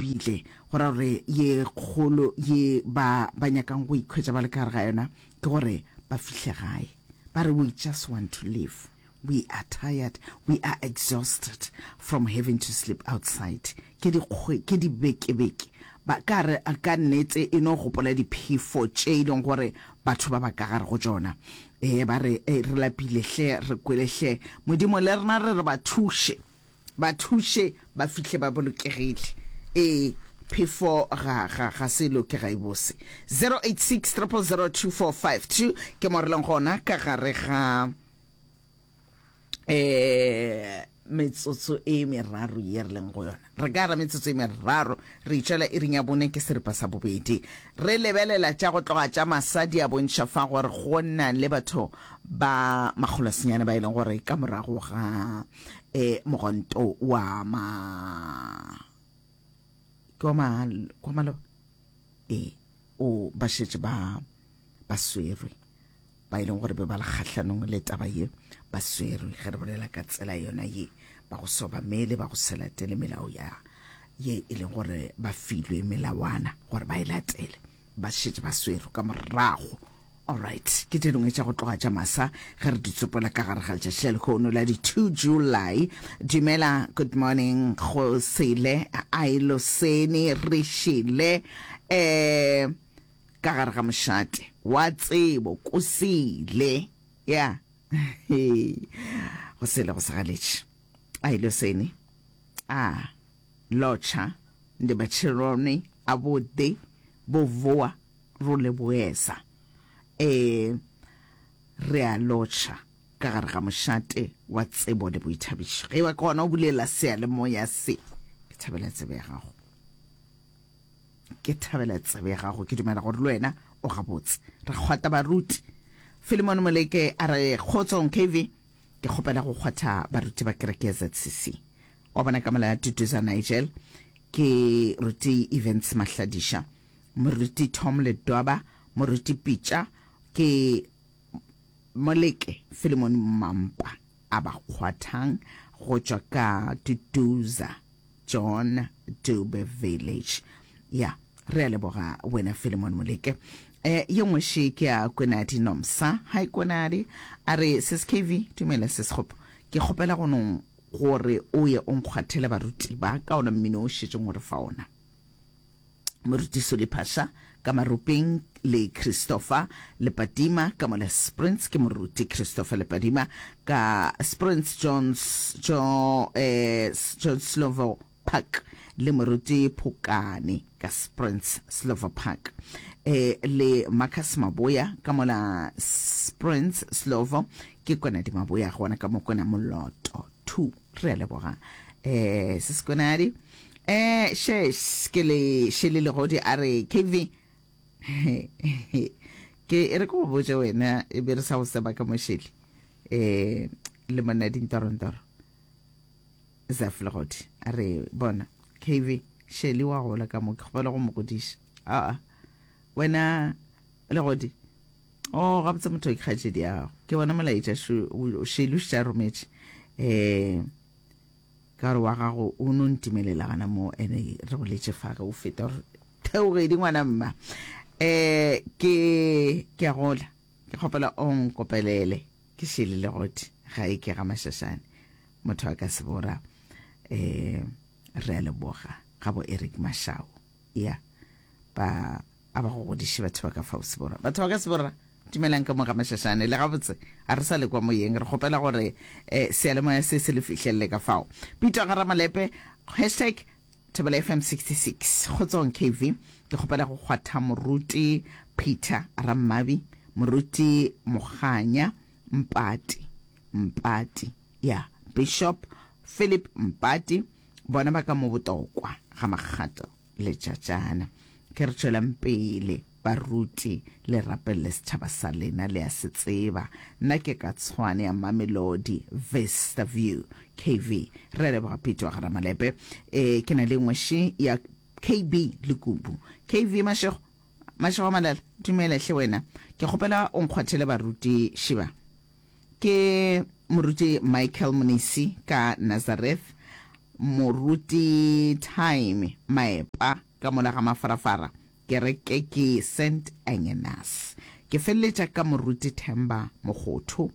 lapile, go ra gore ye kgolo ye ba ba nyakang go ikhwetša ba le ka gare ga yona ke gore ba fihle gae. Ba re we just want to live. We are tired, we are exhausted from having to sleep outside. Ke dikgwe, ke dibekebeke. Ba ka re ka nnete e no gopola diphefo tše e leng gore batho ba ba ka gare go tšona. Ee, ba re, e, re lapile hle, re kwele hle. Modimo le rena re re ba thuše, ba thuše ba fihle ba bolokegile. Ee, phefo ga, ga, ga se loke, ga e bose. 086 000 2452 ke mo re leng gona ka gare ga eh metsotso e meraro ye re leng go yona. Re ka ra metsotso e meraro re itšwela iring ya bone ke seripa sa bobedi. Re lebelela tša go tloga tša masa di a bontšha fa gore go na le batho ba makgolosenyane ba e leng gore ka morago ga eh mogonto wa ma ke wa ma kwa maloba ee o ba šetše ba ba swerwe. Ba e leng gore be ba le kgahlanong le taba ye ba swerwe, ge re bolela ka tsela yona ye, ba go se obamele, ba go se latele melao ya ye e leng gore ba filwe melawana gore ba e latele, ba šetše ba swerwe ka morago. Alright, ke tše dingwe tša go tloga tša masa ge re di tsopola ka gare ga letšatši la lehono la di 2 July. Dumela, good morning go sele, ailoseni, re šele, eh, Ka gare ga mošate wa tsebo kosele ya go sele go segaletše a ile sene a lotšha ndi matsheloni a vhuḓi vho vuwa ro leboesa e re a lotšha ka gare ga mošate wa tsebo le boithabišo ge ba ke gona o bulela seyalemoya se ke thabela tsebo ya gago. Ke thabela tsebe ya gago, ke dumela gore le wena o gabotse. Re kgwata baruti. Philemon Moleke a re, Kgotsong KV, ke kgopela go kgwatha baruti ba kereke ya ZCC. Wa bona ka mola ya Duduza Nigel, ke ruti Evans Mahladiša, moruti Tom Ledwaba, moruti Pitša, ke Moleke Philemon Mampa a ba kgwathang go tšwa ka Duduza. John Dube Village. Ya, re a leboga wena Philemon Moleke. Eh, ye nngwe še ke ya Kwenadi Nomsa. Hi Kwenadi. A re sis KV, dumela sis Kgopo. Ke kgopela go no gore o ye o nkgwathele baruti ba ka ona mmino o šetšeng o re fa ona. Moruti Soli Phasha ka Maropeng le Christopher Lepadima ka mola Sprints ke Moruti Christopher Lepadima ka Sprints Jones jo eh John Slovo Park le Moruti Phokane ka Sprints Slovo Park eh le Marcus Maboya ka mola Sprints Slovo ke Kwenadi Maboya gona ka mo Kwena Moloto 2 re a leboga eh Seskonadi Eh, she, ke le Shele Legodi a re, KV, ke e re ke go botše wena e be re sa go seba ka mo Shele, eh, le monna dintorontoro. Zaf Legodi a re, bona, KV, Shele wa gola ka mo, ke kgopela go mo godiša. Aa, wena Legodi, oh, gabotse motho ke kgaetšedi ya gago. Ke bona molaetša Shele o šetše a rometše. Eh, Ka gore wa gago o no ntimelela gana mo, ene re boletše fa ge o feta gore theogedi ngwana mma. Eh ke ke a gola. Ke kgopela o nkopelele ke šele legodi ga e ke ga Mashashane. Motho a ka se bora. Eh re a leboga ga bo Eric Mashau. Ya ba a ba go godiše batho ba ka fao Seborra. Batho ba ka Seborra, dumelang ka mo ga Mashashane. Le gabotse, ga re sa le kwa moyeng. Re kgopela gore eh, seyalemoya se se le fihlelele ka fao. Pitwa ga Ramalepe, hashtag Thobela FM 66. Kgotsong KV, ke kgopela go kgwatha Moruti Peter Rammabi, Moruti Moganya Mpati, Mpati, ya, Bishop Philip Mpati, bona ba ka mo Botokwa ga Makgato. Letšatšana. Ke re tšwelang pele, baruti, le rapelele setšhaba sa lena, le a se tseba. Nna ke ka Tshwane ya Mamelodi, Vista View. KV, Re a leboga Pete wa ga Ramalepe. E, ke na le nngwe še ya KB Lekubu. KV, Mašego, Mašego a Malala, dumela hle wena. Ke kgopela o nkgwathele baruti šiba. Ke Moruti Michael Monisi ka Nazareth. Moruti Time Maepa ka mola ga Mafarafara, kereke ke Saint Agnes. Ke feleletša ka Moruti Themba Mokgotho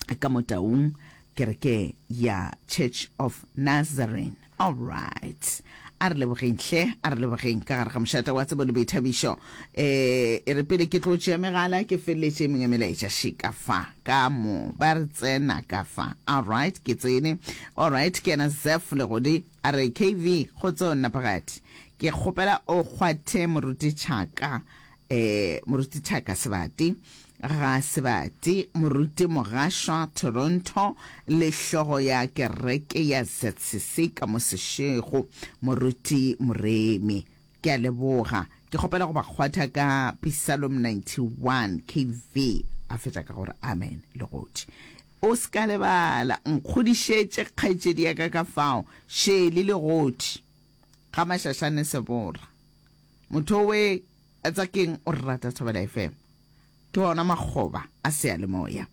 ka mo Taung, kereke ya Church of Nazarene. Alright. A re lebogeng hle, a re lebogeng ka gare ga mošate wa tsebo le boithabišo. Eh, e re pele ke tlo tšea megala ke feleletše e mengwe melaetša še ka fa, ka mo, ba re tsena ka fa. Alright, ke tsene. Alright, ke yena Zeph Legodi a re KV, kgotso Nnapagadi. Ke kgopela o kgwathe moruti Tšhaka, eh, moruti Tšhaka Sebati. Ga Sebati, Moruti Mogašwa, Toronto, le hlogo ya kereke ya ZCC ka mo Seshego, Moruti Moremi. Ke a leboga. Ke kgopela go ba kgwatha ka Pisalom 91, KV. A fetša ka gore Amen, Legodi. O se ka lebala, nkgodišetše kgaetšedi ya ka ka fao, Shirley Legodi, ga Mašašane Sebora. Motho owe a tsa keng o re rata Thobela FM. Ke ona makgoba a seyalemoya.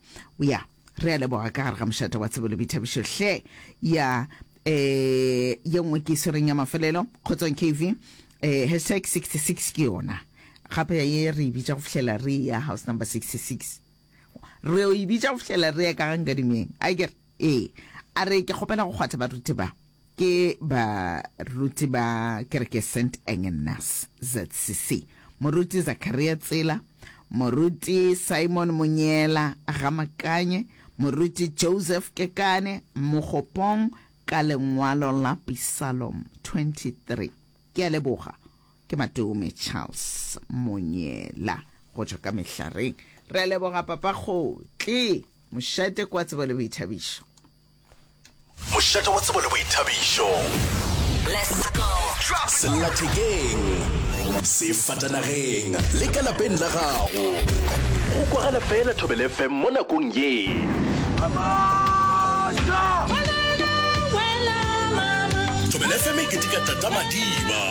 Ya, re a leboga ka gare ga mošate wa tsebo le boithabišo hle. Ya, eh, ye nngwe ke e swereng ya mafelelo, Kgotsong KV, eh, hashtag 66 ke yona. Gape ye re e bitša go fihlela re ya house number 66. Re yo e bitša go fihlela re ya ka ga Nkadimeng. Akere? Ee. A re ke kgopela go kgwatha baruti ba. Ke baruti ba kereke St. Agnes ZCC, Moruti Zakaria Tsela, Moruti Simon Monyela Gamakanye, Moruti Joseph Kekane Mogopong ka lengwalo la Pisalom 23. Ke a leboga. Ke Matome Charles Monyela go tšwa ka Mehlareng. Re a leboga Papa Kgotli. Mošate kwa tsebo le boithabišo. Mošate wa tsebo le boithabišo. Sellathekeng, sefatanageng le ka lapeng la gago. Go kwagala fela Thobela FM mo nakong ye. Thobela FM e keteka Tata Madiba,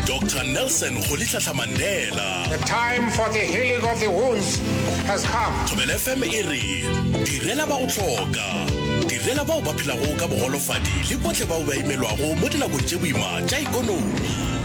Doctor Nelson Rolihlahla Mandela. The time for the healing of the wounds has come. Thobela FM e re direla ba go hloka. Direla bao ba phelago ka bogolofadi le bohle bao ba imelwago mo dinakong tše boima tša ekonomi.